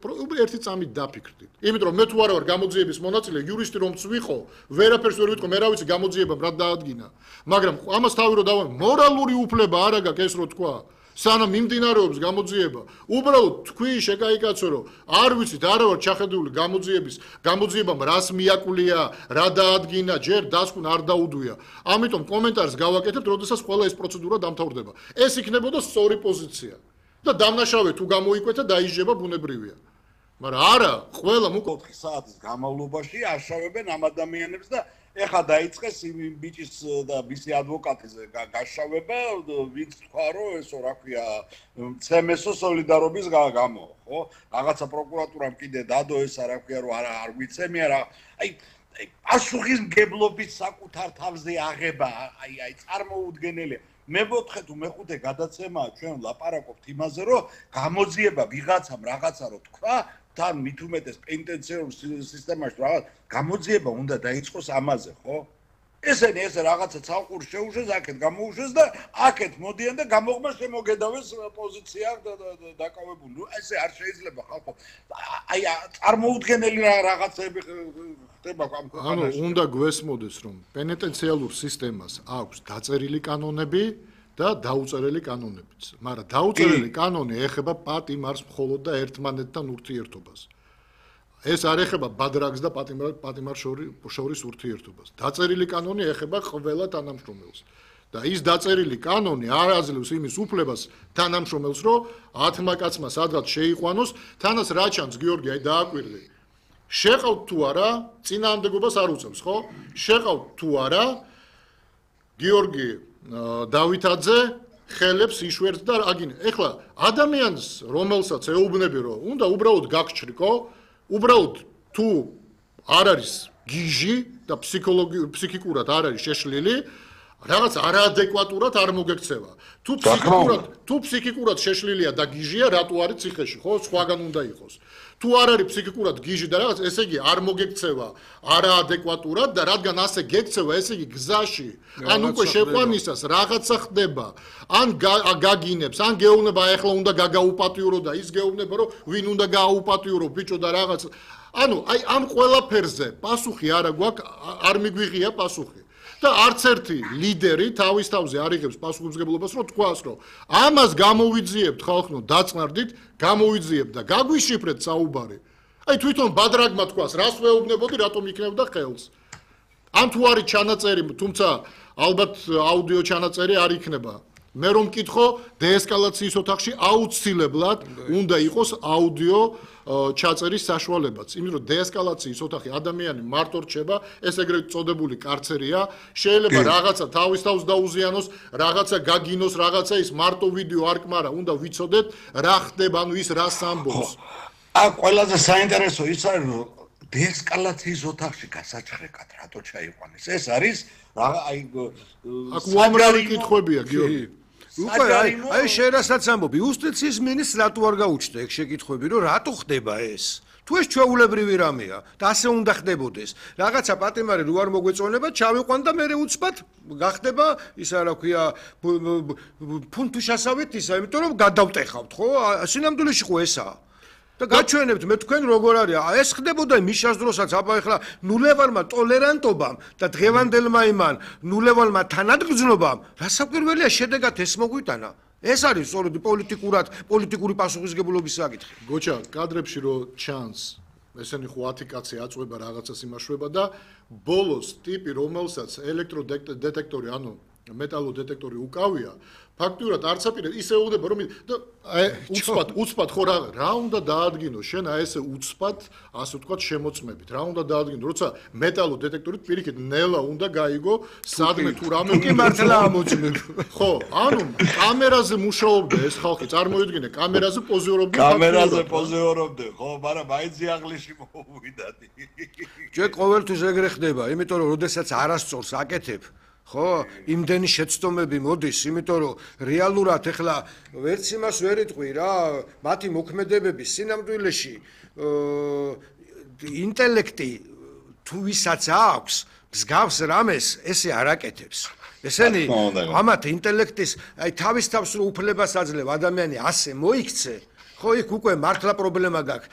ერთი წამით დაფიქრდით. იმიტომ რომ მე თუ არა ვარ გამოძიების მონაწილე, იურისტი რომც ვიყო, ვერაფერს ვერ ვიტყვი, მე რა ვიცი გამოძიებამ რა დაადგინა. მაგრამ ამას თავი რო დავარ, მორალური უფლება არ აქვს ეს რო თქვა. სანამ მიმდინარეობს გამოძიება, უბრალოდ თქვი შეკაიკაცო რომ არ ვიცით, არა ვარ ჩახედული გამოძიებამ რას მიაკვლია, რა დაადგინა, ჯერ დასკვნ არ დაუდვია. ამიტომ კომენტარს გავაკეთებთ, როდესაც ყველა ეს პროცედურა დამთავრდება. ეს იქნებოდა სწორი პოზიცია. და დამნაშავე თუ გამოიკვეთა დაიჯება ბუნებრივია. მაგრამ არა, ყველა 4 საათის განმავლობაში აშავებენ ამ ადამიანებს და ეხა დაიწყეს იმ ბიჭის და მისი ადვოკატის გაშავება, ვინც თქვა რომ ესო რა ქვია, CMS-ო სოლიდარობის გამო, ხო? რაღაცა პროკურატურამ კიდე დადო ესა რა ქვია, რომ არ ვიცემი არა. აი პასუხისმგებლობის საკუთარ თავზე აღება, აი წარმოუდგენელია. მე ვოთხე თუ მეხუთე გადაცემაა ჩვენ ლაპარაკობთ იმაზე, რომ გამოძიება ვიღაცამ რაღაცა რო თქვა, თან მით უმეტეს პენტენციურ სისტემაში რაღაც გამოძიება უნდა დაიწყოს ამაზე, ხო? ესენი ესე რაღაცა ცალკურ შეუშვეს, აქეთ გამოუშვეს და აქეთ მოდიან და გამოღმა შემოგედავეს პოზიცია დაკავებული. ნუ ესე არ შეიძლება ხალხო. აი წარმოუდგენელი რაღაცები ხდება ამ ქვეყანაში. ანუ უნდა გვესმოდეს რომ პენტენციალურ სისტემას აქვს დაწერილი კანონები და დაუწერელი კანონებიც. მაგრამ დაუწერელი კანონი ეხება პატიმარს მხოლოდ და ერთმანეთთან ურთიერთობას. ეს არ ეხება ბადრაგს და პატიმარს შორის ურთიერთობას. დაწერილი კანონი ეხება ყველა თანამშრომელს. და ის დაწერილი კანონი არ აძლევს იმის უფლებას თანამშრომელს, რომ 10 კაცმა სადღაც შეიყვანოს, თანაც რა ჩანს გიორგი, აი დააკვირდი. შეყავთ თუ არა, წინააღმდეგობას არ უწევს, ხო? შეყავთ თუ არა, გიორგი დავითაძე ხელებს იშვერს და აგინე. ეხლა ადამიანს, რომელსაც ეუბნები, რომ უნდა უბრალოდ გაგჩრიკო, უბრალოდ თუ არ არის გიჟი და ფსიქიკურად არ არის შეშლილი, რაღაც არაადეკვატურად არ მოგექცევა. თუ ფსიქიკურად შეშლილია და გიჟია, რატო არის ციხეში, ხო? სხვაგან უნდა იყოს. თუ არ არის ფსიქიკურად გიჟი და რაღაც, ესე იგი არ მოგექცევა არაადეკვატურად და რადგან ასე გექცევა, ესე იგი გზაში, ან უკვე შეყვანისას რაღაცა ხდება, ან გაგინებს, ან გეუბნება, ეხლა უნდა გაგაუპატიურო და ის გეუბნება, რომ ვინ უნდა გააუპატიურო ბიჭო და რაღაც. ანუ აი ამ ყველაფერზე პასუხი არა გვაქვს, არ მიგვიღია პასუხი. და არც ერთი ლიდერი თავის თავზე არ იღებს პასუხისმგებლობას, რომ თქვას, რომ ამას გამოვიძიებთ ხალხო, დაწნარდით, გამოვიძიებთ და გაგვიშიფრეთ საუბარი. აი თვითონ ბადრაგმა თქვას, რას ვეუბნებოდი, რატომ იქნებდა ხელს. ან თუ არის ჩანაწერი, თუმცა ალბათ აუდიო ჩანაწერი არ იქნება. მე რომ მკითხო, დეესკალაციის ოთახში აუცილებლად უნდა იყოს აუდიო ჩაწერის საშუალებაც. იმიტომ რომ დეესკალაციის ოთახი ადამიანი მარტო რჩება, ეს ეგრეთ წოდებული კარცერია, შეიძლება რაღაცა თავის თავს დაუზიანოს, რაღაცა გაგინოს, რაღაცა ის მარტო ვიდეო არ კმარა, უნდა ვიცოდეთ რა ხდება, ანუ ის რას ამბობს. ყველაზე საინტერესო ის არის, რომ დეესკალაციის ოთახში გასაჩხრეკად რატო ჩაიყვანეს? ეს არის აი აქ უამრავი კითხვებია, გიორგი. უკვე აი შენ რასაც ამბობ, იუსტიციის მინისტრს რატო არ გაუჩნდა ეგ შეკითხვები, რომ რატო ხდება ეს? თუ ეს ჩვეულებრივი რამეა და ასე უნდა ხდებოდეს. რაღაცა პატიმარი რო არ მოგვეწონება, ჩავიყვან და მე უცბად გახდება ისა რა ქვია ფუნთუშასავით ისა, იმიტომ რომ გადავტეხავთ, ხო? სინამდვილეში ხო ესაა. და გაჩვენებთ მე თქვენ როგორ არის ეს ხდებოდა მიშას დროსაც აბა ეხლა ნულევარმა ტოლერანტობამ და დღევანდელმა იმან ნულევარმა თანადგზნობამ რასაკვირველია შედეგად ეს მოგვიტანა ეს არის სწორედ პოლიტიკური პასუხისმგებლობის საკითხი გოჩა კადრებში რო ჩანს ესენი ხო 10 კაცი აწვება რაღაცას იმაშვება და ბოლოს ტიპი რომელსაც ელექტროდეტექტორი ანუ მეტალო დეტექტორი უკავია ფაქტურად არც აპირებს ისე უღდება რომ უცბად ხო რა უნდა დაადგინო შენ აი ესე უცბად ასე ვთქვათ შემოწმებით რა უნდა დაადგინო როცა მეტალო დეტექტორით პირიქით ნელა უნდა გაიგო სადმე თუ რამე კი მართლა ამოწმებ ხო ანუ კამერაზე მუშაობდა ეს ხალხი წარმოიდგინე კამერაზე პოზიორობდა ხო მაგრამ მაინც იღლისში მოვიდადი ჩვენ ყოველთვის ეგრე ხდება იმიტომ რომ როდესაც არასწორს აკეთებ ხო, იმდენი შეცდომები მოდის, იმიტომ რომ რეალურად ეხლა ვერც იმას ვერ იტყვი რა, მათი მოქმედებების სინამდვილეში ინტელექტი თუ ვისაც აქვს, მსგავს რამეს ესე არ აკეთებს. ესენი ამათ ინტელექტის, აი თავის თავს რო უფლებას აძლევ ადამიანი ასე მოიქცე, ხო იქ უკვე მართლა პრობლემა გაქვს